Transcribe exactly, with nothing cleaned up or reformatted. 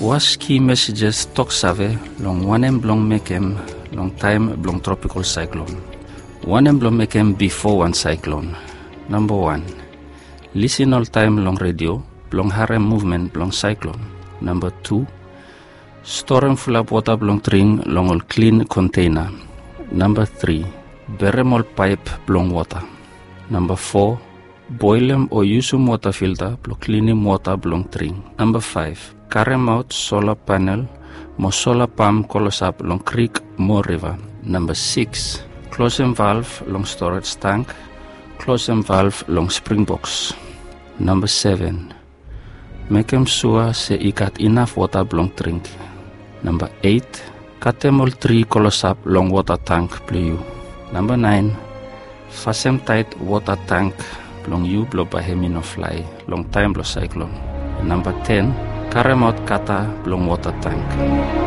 Was ki mesejes toksave long wanem blong mekem long taem blong tropikol saeklon. Wanem blong mekem bifo wan saeklon. Namba wan, lisin oltaem long redio blong harem muvmen blong saeklon. Namba tu, storem fulap wota blong dring long ol klin konteina. Namba tri, berem ol paep blong wota. Namba fo, boelem o yusum wota filta blong klinim wota blong dring. Namba faef, karemaot sola panel mo sola pam klosap long krik mo riva. Namba sikis, klosem valv long storej tank, klosem valv long springboks. Namba seven, mekem sua se i gat inaf wota blong dring. Namba eit, katem ol tri klosap long wota tank blong yu. Namba naen, fasem taet wota tank blong yu blong bae hem i no flae long taem blong saeklon. Namba ten, karemaot kata blong wota tank.